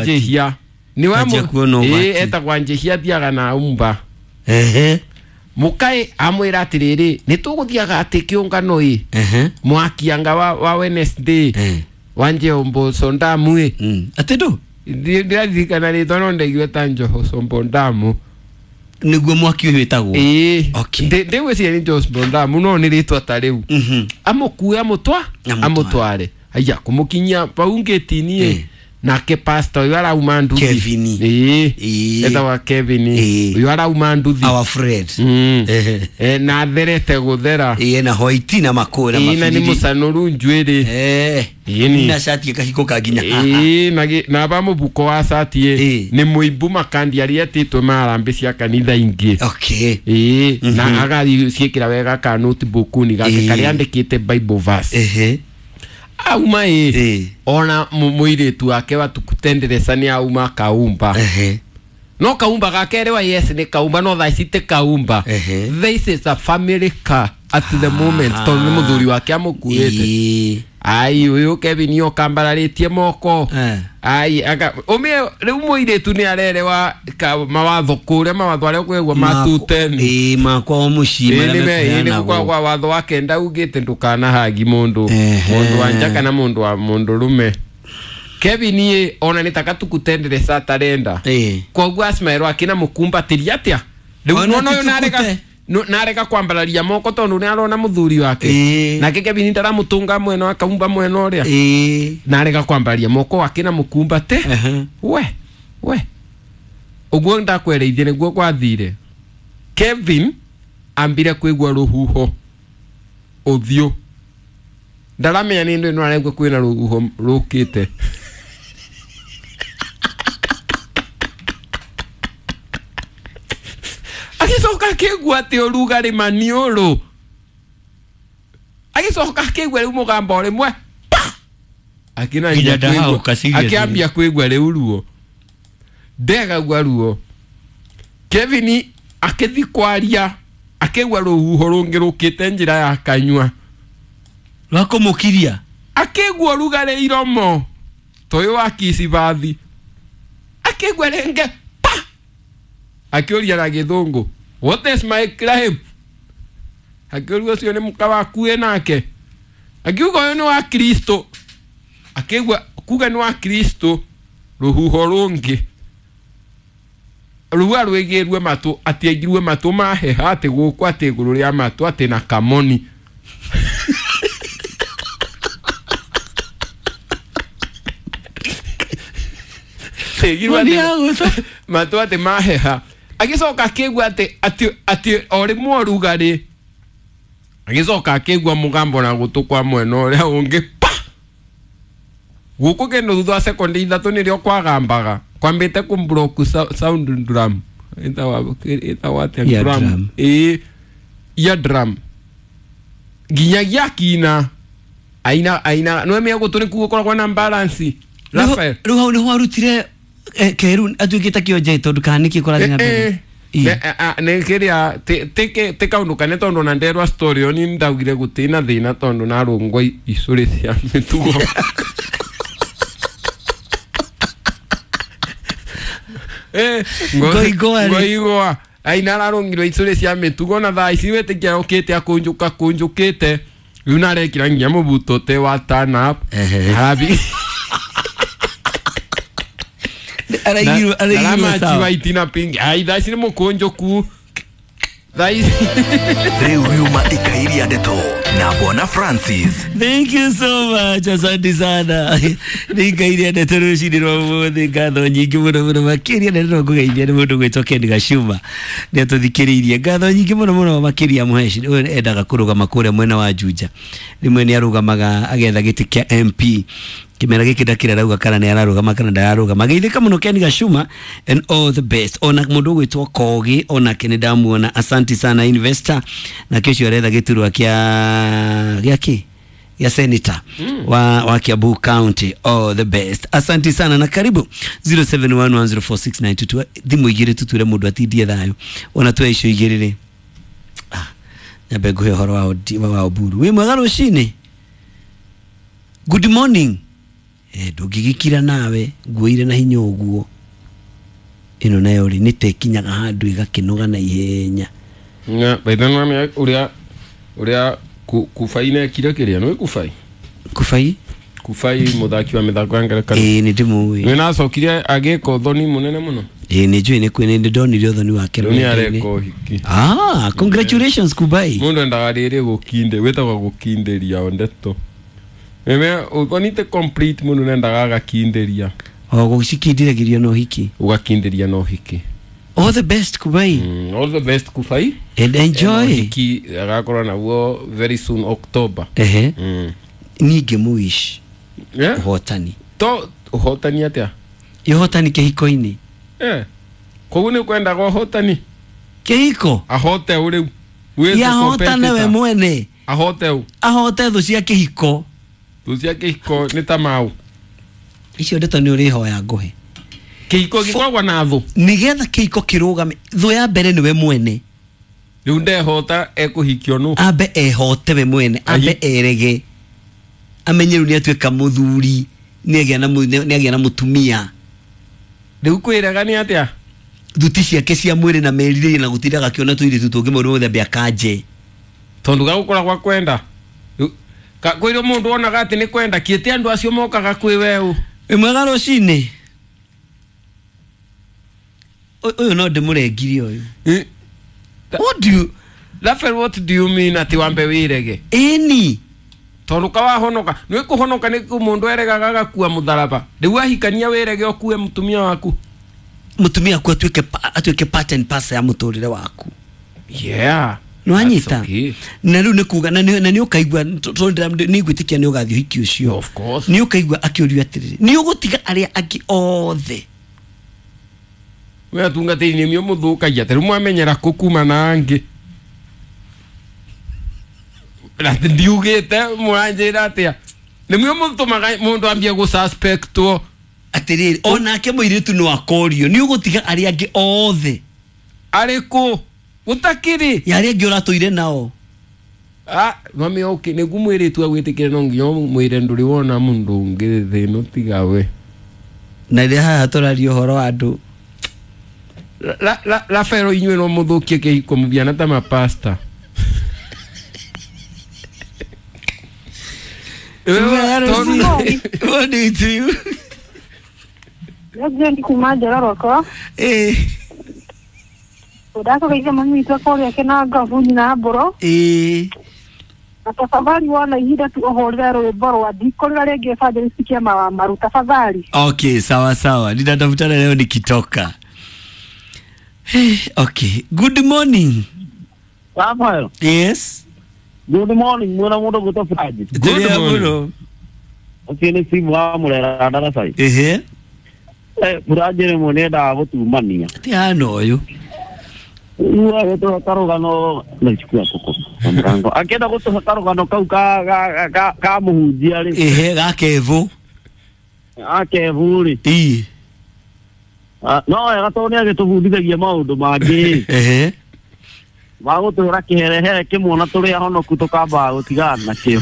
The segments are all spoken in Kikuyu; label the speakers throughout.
Speaker 1: Njihia ni wa
Speaker 2: Anjia kuona ũgwati.
Speaker 1: Etagwa Njihia athiaga na umba.
Speaker 2: Ehe.
Speaker 1: Mukae amwira atiriri ni tuguthiaga ati kiungano i
Speaker 2: Ehe.
Speaker 1: mwakianga wa Wednesday
Speaker 2: Eh.
Speaker 1: wa Njombo Sondamu i.
Speaker 2: Atĩ ndũ
Speaker 1: Ndiraririkana ritwa no ndaiguire ta Njoho Sombo Ndamu.
Speaker 2: Nĩguo mwaki ũyũ wĩtagwo.
Speaker 1: Ĩĩ.
Speaker 2: Okay.
Speaker 1: Ndĩgwĩciria nĩ Njoho Sombo Ndamu no nĩ rĩtwa ta rĩu. Amũkue amũtwa
Speaker 2: Amũtware.
Speaker 1: amũtware aya kũmũkinyia pau ngĩti-inĩ
Speaker 2: Eh.
Speaker 1: nake pastor ũyũ arauma nduthi.
Speaker 2: Kevin.
Speaker 1: Ĩĩ.
Speaker 2: Ĩĩ.
Speaker 1: Etagwa Kevin.
Speaker 2: Ĩĩ.
Speaker 1: Ũyũ arauma nduthi.
Speaker 2: Our friend. Ehe.
Speaker 1: Na atherete gũthera.
Speaker 2: Ĩĩ, na hoiti na makũ na
Speaker 1: Ĩĩ, na nĩ
Speaker 2: mabiriri.
Speaker 1: mũcanũru njuĩrĩ.
Speaker 2: Eh.
Speaker 1: Ĩĩ ni.
Speaker 2: Na cati ĩkahingũka nginya haha.
Speaker 1: Ĩĩ, na na ba mũbuko wa cati ĩ
Speaker 2: Ĩĩ.
Speaker 1: nĩ mũimbu makandi arĩa etĩtwo marambe cia kanitha ingĩ.
Speaker 2: Okay.
Speaker 1: Ĩĩ, na agaciĩkĩra wega ka notebook-inĩ gake
Speaker 2: Ĩĩ.
Speaker 1: karĩa andĩkĩte Bible verse.
Speaker 2: Ehe.
Speaker 1: Auma ĩ
Speaker 2: Ĩĩ.
Speaker 1: ona mũirĩtu wake wa tukutenderesa nĩ auma kaumba.
Speaker 2: Ehe.
Speaker 1: No kaumba gake rĩwa yes nĩ kaumba no thaa ici ti kaumba.
Speaker 2: Ehe.
Speaker 1: This is a family car at the moment tondũ nĩ mũthuri wake amũkuĩte.
Speaker 2: Ĩĩ.
Speaker 1: Ai ũyũ Kevin okambararĩtie moko.
Speaker 2: Eh.
Speaker 1: Ai aka ũmie rĩu mũirĩtu nĩ arerewa ka mawatho kũrĩa mawatho arĩa ũkwĩgua matuteni.
Speaker 2: Ĩĩ, makwa o mũciĩ
Speaker 1: Ĩĩ
Speaker 2: marĩa
Speaker 1: nĩ me- ĩĩ nĩ
Speaker 2: mekũheanagwo.
Speaker 1: kwa watho wa kenda ugĩte ndũkanahagi mũndũ
Speaker 2: Ehe.
Speaker 1: mũndũ wa nja kana mũndũ wa mũndũ rũme. Kevin ĩ ona nĩ taka tukutenderesa atarenda.
Speaker 2: Ĩĩ.
Speaker 1: Koguo asmairwo akina mũkumbatĩria atĩa rĩu
Speaker 2: Ona
Speaker 1: nona ũyũ
Speaker 2: ti
Speaker 1: narega
Speaker 2: tukute.
Speaker 1: narega kwambararia moko tondũ nĩ arona mũthuri wake.
Speaker 2: Ĩĩ.
Speaker 1: Nake Kevin ndaramũtũnga mwena akaumba mwena ũrĩa.
Speaker 2: Ĩĩ.
Speaker 1: Narega kwambararia moko akina mũkumbate.
Speaker 2: Ehe.
Speaker 1: We ũguo ndakwereithie nĩguo gwathire. Kevin ambire kwĩgua rũhuho ũthiũ ndaramenya nĩ ndĩ no araigua kwĩna rũhuho rũkĩte. Agĩcoka akĩigua atĩ ũrugarĩ maniũrũ agĩcoka akĩigua rĩu mũgambo o rĩmwe pa!
Speaker 2: Nginya
Speaker 1: Akĩnambia
Speaker 2: ndahauka, seriously.
Speaker 1: akĩambia kwĩgua rĩu ruo ndegagua ruo. Kevin akĩthi kwaria akĩigua rũhuho rũngĩ rũkĩte njĩra ya kanyua.
Speaker 2: Rwa kũmũkiria.
Speaker 1: Akĩigua ũrugarĩ iromo ta ũyũ wa kicibathi akĩigua rĩngĩ pa! Akĩũria na gĩthũngũ what is my crime. Akĩũria ũcio nĩ mũka waku wĩ nake. Akiuga ũyũ nĩ wa Kristo. Akĩigua kuga nĩ wa Kristo rũhuho rũngĩ rũa rwĩgĩrue matũ atĩ aigirue matũ maheha atĩ gũkũ atĩ igũrũ rĩa matũ atĩ na kamoni. Ĩgirwo
Speaker 2: Moni
Speaker 1: atĩ-
Speaker 2: ya gũtũ.
Speaker 1: matũ atĩ maheha agĩcoka akĩigua atĩ atĩ atĩ o rĩmwe ũrugarĩ agĩcoka akĩigua mũgambo na gũtũ kwa mwena ũrĩa ũngĩ pa gũkũ kĩndũ thutha wa sekondi ithatũ nĩrĩo kwagambaga kwambĩte kũmblock sound drum ĩtagwo atĩa
Speaker 2: Ear
Speaker 1: drum
Speaker 2: drum.
Speaker 1: ĩĩ ear drum nginyagia akina aina aina nĩwemia gũtũ nĩkuo gũkoragwo na balance Raphael.
Speaker 2: Rĩu hau nĩho arutire keru atuĩkĩte kĩonje tondũ kana nĩkĩ kũrathiĩ na mbere. Ĩĩ.
Speaker 1: Nä kä rä a tä kaå ndå kane tondå na nderwa story ĩyo ni ndaugire gå na thä na tondå narå icå rä cia mä tugo.
Speaker 2: Ngoigwa rĩ.
Speaker 1: Ngoigwa aina ararå ngirwo icå rä cia mä tugo na thaa ici wä tä kia å kä te akå njå ka kå njå kä te rä u narekira nginya må buto te wa turn up.
Speaker 2: Ehe.
Speaker 1: Arabi
Speaker 2: Araigirwo araigirwo
Speaker 1: Aramachiwa
Speaker 2: sawa.
Speaker 1: itina pingi ai thaa ici nä må kå njå ku thaa ici.
Speaker 3: Rĩu riuma ikairia ndeto na Bwana Francis.
Speaker 2: Thank you so much. Asante sana. Nĩ ngairia ndeto rũcinĩ rwa ũmũthĩ ngatho nyingĩ mũno mũno makĩria na nĩro ngũgeithia nĩ mũndũ gwĩtwo Ken Gacuma nĩ atũthikĩrĩirie ngatho nyingĩ mũno mũno makĩria Mũheshi ũyũ endaga kũrũgama kũrĩa mwena wa Juja rĩmwe nĩ arũgamaga agetha gĩtĩ kĩa MP kĩmera gĩkĩ ndakĩrĩ arauga kana nĩ ararũgama kana ndararũgama geithĩka mũno Ken Gacuma and all the best ona mũndũ ũgwĩtwo Kogi onake nĩ ndamuona asante sana investor nake ũcio aretha gĩturwa kĩa gĩa kĩ ya senator wa Kiambu County all the best asante sana na karibu 0711046922 thimũ igĩrĩ tuture mũndũ atindie thayũ ona twe icio igĩrĩ rĩ nyambe ngũhe ũhoro wa Oburu wĩ mwega rũcinĩ good morning. Ndũngĩgĩkira nawe nguoire na hinya ũguo. Ĩno nayo rĩ nĩ ta ĩkinyaga handũ ĩgakĩnoga na ihenya.
Speaker 1: Na baitha nĩ ũrĩa ũrĩa Kubai nekire kĩrĩa nĩ Kubai.
Speaker 2: Kubai?
Speaker 1: Kubai mũthaki wa mĩthako ya ngerekano.
Speaker 2: Nĩ ndĩmũĩ.
Speaker 1: Nĩ nacokire agĩka ũthoni mũnene mũno.
Speaker 2: Nĩ njũĩ nĩ kwĩ nĩ ndonire ũthoni wake.
Speaker 1: Rĩu nĩ areka ũhiki.
Speaker 2: Ah, congratulations Kubai.
Speaker 1: Mũndũ endaga rĩrĩ gũkinde, wĩtagwo gũkindĩria ndeto. Meme ũthoni te complete mũndũ nendaga agakindĩria.
Speaker 2: O gũcikindĩragĩrio na ũhiki.
Speaker 1: Ũgakindĩria na ũhiki.
Speaker 2: All the best Kubai.
Speaker 1: All the best Kubai.
Speaker 2: And enjoy.
Speaker 1: Ũhiki agakorwo naguo very soon October.
Speaker 2: Ehe. Ningĩ mũici.
Speaker 1: Yeah?
Speaker 2: Ũhotani.
Speaker 1: To ũhotani atĩa?
Speaker 2: Ũhotani kĩhiko-inĩ.
Speaker 1: Koguo nĩ kwendaga ũhotani?
Speaker 2: Kĩhiko?
Speaker 1: Ahote ũ rĩu. Wĩ
Speaker 2: Ahotane we mwene.
Speaker 1: Ahote ũ?
Speaker 2: Ahote thũ cia kĩhiko.
Speaker 1: Thũ cia kĩhiko nĩ ta mau.
Speaker 2: Icio ndeto nĩ ũrĩhoya ngũhe.
Speaker 1: Kĩhiko gĩkoragwo na thũ.
Speaker 2: Nĩgetha kĩhiko kĩrũgame, thũ ya mbere nĩwe mwene.
Speaker 1: Rĩu ndehota ekũhikio nũ?
Speaker 2: Ambe ehote we mwene, ambe erege. Amenye rĩu nĩatuĩka mũthuri, nĩagĩa na mũtumia.
Speaker 1: Rĩu kwĩrega nĩ atĩa?
Speaker 2: Thuti ciake cia mwĩrĩ na merirĩria na gũtindaga akĩona tũirĩtu tũngĩ maũndũ mothe ambe akanje.
Speaker 1: Tondũ gagũkora gwa kwenda. Kwĩrĩ mũndũ onaga atĩ nĩ kwenda kĩte andũ acio mokaga kwĩ weũ.
Speaker 2: Wĩ mwega rũcinĩ. Ũyũ no ndĩmũrengirie ũyũ. What do you
Speaker 1: Rafael, what do you mean atĩ wambe wĩrege?
Speaker 2: Ĩni.
Speaker 1: Tondũ kawahonoka nĩ kũhonoka nĩ mũndũ eregaga agakua mũtharaba. Rĩu ahikania wĩrege ũkue mũtumia waku.
Speaker 2: Mũtumia waku atuĩke part and parcel ya mũtũrĩre waku.
Speaker 1: Yeah.
Speaker 2: Nĩwanyita?
Speaker 1: Okay.
Speaker 2: Na rĩu nĩ kuga na nĩ ũkaigua nĩ ngwĩtĩkia nĩ ũgathiĩ ũhiki ũcio.
Speaker 1: Of course.
Speaker 2: Nĩ ũkaigua akĩũrio atĩrĩrĩ, nĩ ũgũtiga arĩa angĩ othe.
Speaker 1: We atungatĩri nĩ mĩo mũthũkagia ta rĩu mwamenyera kũ kuma na angĩ. Na ndiugĩte mũranjĩra atĩa? Nĩ mĩo mũtũmaga mũndũ ambie gũsuspectwo.
Speaker 2: Atĩrĩrĩ, onake mũirĩtu no akorio, nĩ ũgũtiga arĩa angĩ othe.
Speaker 1: Arĩkũ? Gũtakĩrĩ.
Speaker 2: Ya arĩa angĩ ũratũire nao.
Speaker 1: Ah, mami okay, nĩguo mũirĩtu agwĩtĩkĩre no nginya ũmwĩre ndũrĩ wona mũndũ ũngĩ thĩ ĩno tiga we.
Speaker 2: Na rĩrĩa haha tũraria ũhoro wa andũ.
Speaker 1: Rafael inyuĩ no mũthũkie kĩhiko mũbiana ta mapasta.
Speaker 2: What do you do?
Speaker 4: President kuma Njororoko. Ndakũgeithia mami witũ kũrĩa Kĩnangobu nyina Mbũrũ. Na tafadhali wona ihinda tu ũhũrĩre rwĩmbo rwa ndikũrĩra rĩngĩ Evangelist Kĩama wa Maru tafadhali.
Speaker 2: Okay, sawa sawa. Nitatafutana leo nikitoka. Hey, okay. Good morning.
Speaker 5: Rafael.
Speaker 2: Yes.
Speaker 5: Good morning. Mwena mũndũ gwĩtwo Francis.
Speaker 1: Good morning.
Speaker 5: Ũcio nĩ simu wa Mũrera Ndarasai.
Speaker 2: Ehe.
Speaker 5: Furaji rĩmwe nĩ endaga gũtumania.
Speaker 2: Ti hana ũyũ.
Speaker 5: Rĩu agĩtũhe karũgano na ichukua kũkũ na mũrango. Akĩenda gũtũhe karũgano kau ka mũhunjia rĩ.
Speaker 2: Ehe, ga Kevu.
Speaker 5: Ga Kevu rĩ.
Speaker 2: Ii.
Speaker 5: No wega tondũ nĩ agĩtũbundithagia maũndũ mangĩ.
Speaker 2: Ehe.
Speaker 5: Magũtũhũra kĩherehere kĩmwe na tũrĩ ahonoku tũkambaga gũtigana nakĩo.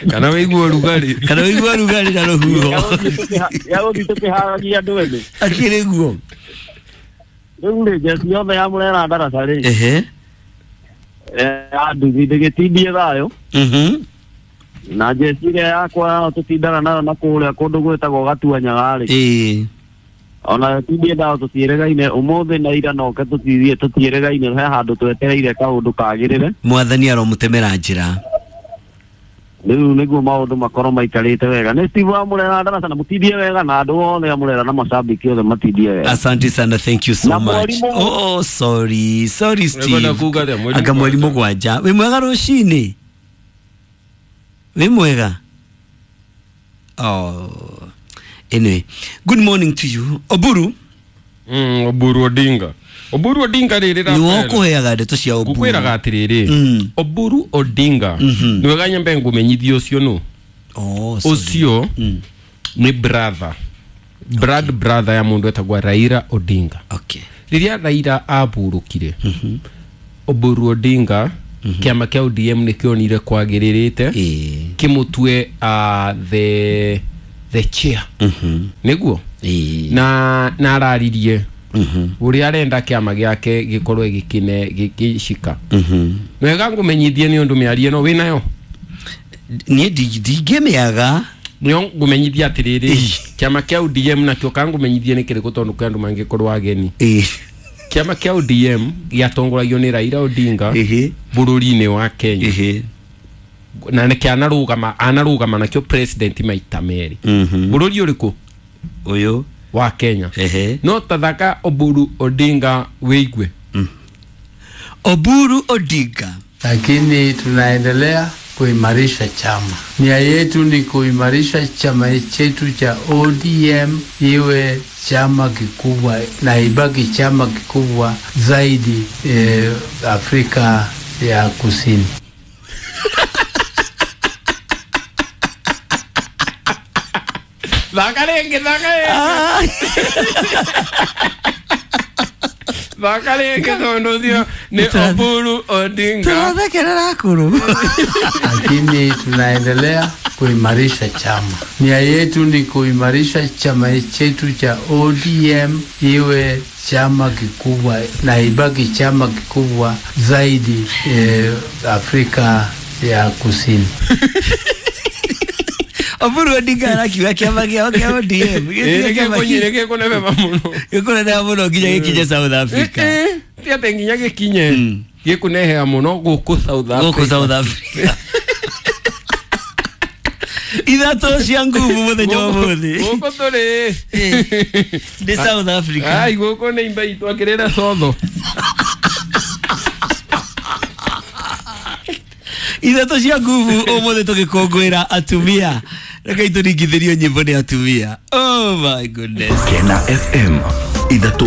Speaker 1: Kana wĩigue ũrugarĩ.
Speaker 2: Kana wĩigue ũrugarĩ na rũhuho.
Speaker 5: Ya gũthiĩ tũkĩharagia andũ ethĩ.
Speaker 2: Akĩrĩ guo.
Speaker 5: Rĩu rĩ njeci yothe ya Mũrera Ndaraca rĩ.
Speaker 2: Ehe.
Speaker 5: Ya nduthi ndĩgĩtindie thayũ. Na njeci ĩrĩa yakwa tũtindaga nayo na kũrĩa kũndũ gwĩtagwo Gatuanyaga rĩ.
Speaker 2: Ĩĩ.
Speaker 5: Ona tindie thayũ tũtiĩrĩgaine ũmũthĩ na ira noke tũtiĩrĩgaine he handũ twetereire kaũndũ kagĩrĩre.
Speaker 2: Mwathani aromũtemera njĩra.
Speaker 5: Rĩu nĩguo maũndũ makorwo maikarĩte wega. Nĩ Steve wa Mũrera Ndaraca na mũtindie wega na andũ othe a Mũrera na macambĩki othe matindie wega.
Speaker 2: Asante sana, thank you so
Speaker 5: Na
Speaker 2: much. Oh, sorry. Sorry Steve. Anga mweri mũgwanja. Wĩ mwega rũcinĩ? Wĩ mwega? Oh. Anyway, good morning to you. Oburu.
Speaker 1: Oburu Odinga. Oburu Odinga rĩrĩ
Speaker 2: Rafael. Nĩ ũkũheaga ndeto cia Oburu.
Speaker 1: Ngũkwĩraga atĩrĩrĩ. Oburu Odinga. Nĩ wega nyambe ngũmenyithie ũcio nũ.
Speaker 2: Oh, sorry.
Speaker 1: Ũcio nĩ brother. Blood brother ya mũndũ etagwo Raila Odinga.
Speaker 2: Okay.
Speaker 1: Rĩrĩa Raila aburũkire. Oburu Odinga Kĩama kĩa ODM nĩ kĩonire kwagĩrĩrĩte kĩmũtue the chair. Nĩguo na araririe ũrĩa arenda kĩama gĩake gĩkorwo gĩkine gĩkĩcika. Wega ngũmenyithie nĩ ũndũ mĩario ĩno wĩnayo.
Speaker 2: Niĩ ndingĩmĩaga.
Speaker 1: Nĩo ngũmenyithia atĩrĩrĩ, kĩama kĩa ODM nakĩo kangũmenyithie nĩ kĩrĩkũ tondũ kwĩ andũ mangĩkorwo ageni. Kĩama kĩa ODM gĩatongoragio nĩ Raila Odinga bũrũri-inĩ wa Kenya. Na nĩkĩo anarũgama nakĩo president maita merĩ. Bũrũri ũrĩkũ?
Speaker 2: Ũyũ
Speaker 1: wa Kenya. No tathaka Oburu Odinga wĩigue.
Speaker 2: Oburu Odinga.
Speaker 6: Lakini tunaendelea kuimarisha chama. Nia yetu ni kuimarisha chama chetu cha ODM iwe chama kikubwa na ibaki chama kikubwa zaidi Afrika ya Kusini.
Speaker 1: Thaka rĩngĩ, thaka rĩngĩ. Thaka rĩngĩ tondũ ũcio nĩ Oburu Odinga.
Speaker 2: Tũrathekerera akũrũ.
Speaker 6: Lakini tunaendelea kuimarisha chama. Nia yetu ni kuimarisha chama chetu cha ODM iwe chama kikubwa na ibaki chama kikubwa zaidi Afrika ya Kusini.
Speaker 2: Oburu Odinga arakiuga kĩama gĩao kĩa ODM
Speaker 1: gĩkũnebeba mũno.
Speaker 2: Gĩkũnenehera mũno nginya gĩkinye South Africa.
Speaker 1: Ti atĩ nginya gĩkinye, gĩkũnehera mũno gũkũ South Africa.
Speaker 2: Gũkũ South Africa. Ithatũ cia nguvu mũthenya wa ũmũthĩ.
Speaker 1: Gũkũ tũrĩ
Speaker 2: nĩ South Africa.
Speaker 1: Ai, gũkũ nĩ imba itũ akĩrĩra cotho.
Speaker 2: Ithatũ cia nguvu ũmũthĩ tũgĩkũngũĩra atumia. Reke itũringithĩrio nyĩmbo nĩ atumia. Oh my goodness.
Speaker 3: Kena FM ithatũ.